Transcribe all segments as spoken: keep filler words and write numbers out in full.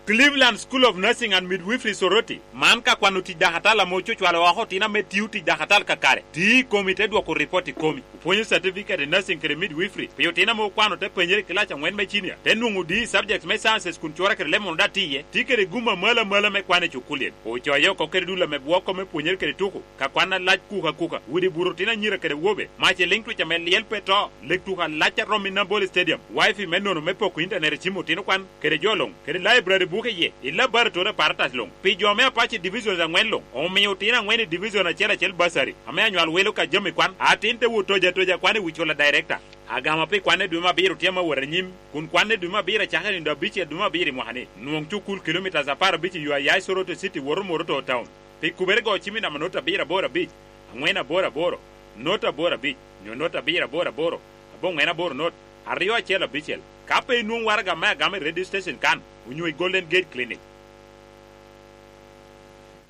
Cleveland School of Nursing and Midwifery Soroti, man ka kwano tic dakatal ame ococwalo oko otino ame tio tic dakatal kakare, ti i komi te dwoko ripot i komi. Opwonyo certificate i nursing kede midwifery pi otino ame okwano te penyere i kilac angwen me cinia, te nwoŋo D E subjects me sciences kun cwora kede lemon oda tiye, ti kede gum amalo amalo me kwan i cukulien. Ocoye oko kede dul ame bwoko me pwonyere kede tuko, ka kwan alac kuka kuka, widi buto otino anyira kede wobe, mac i liŋ twic ame lyel pe to, lek tuko alac a rom i Nambole Stadium, wifi me nono me poko intanet i cim otino kwan, kede jo luŋ, kede library buke iye, i laboratory apparatus luŋ. Pi jo me Apache Divisions angwen luŋ, omio otino angwen i division acel acel basari, ame anywal welo ka jami kwan, atin te wot toja toja kwan i wi cula director. Agama pi kwanne dwe me abiro tye ame awot anyim, kun kwanne dwe me abiro acako i nindo abicel dwe me abiro i mwaka-ni. Nwoŋ cukul kilomitas apar abic i yo a ya i Soroti City woto Moroto Town. Pi kubere go cim i namba not abiro aboro abic, angwen aboro aboro, not aboro abic, nyo not abiro aboro aboro, aboŋwen aboro not, aryo acel abicel. Ka pe inwoŋ waraga me agama i radio station kan, onyo i Golden Gate Clinic.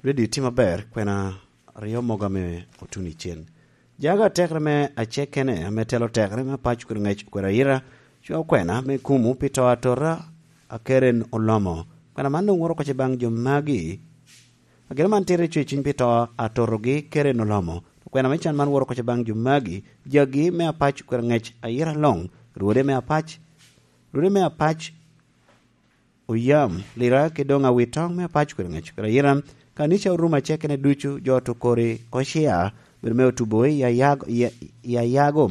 Radio tye maber, kwena aryo mogo ame otuno i cen. Jago atekere me acekene ame telo tekere me paco kede ŋec okwero ayira, cwa okwena me kumo pi to atota a Karen Olomo. Kwena man doŋ woro kocce baŋ jo magi. Ageno man tere cweciny pi to atotogi Karen Olomo. Okwena me can man woro kocce baŋ jo magi, jagi me apac okwero ŋec ayira loŋ, rwode me apac, rwode me apac oyam lira ki doŋ awitoŋ me apac kwede ŋec kwede ayira. Kanica orumo acekene ducu, jo to kori kociya bedo me otubo i ayago, i ayago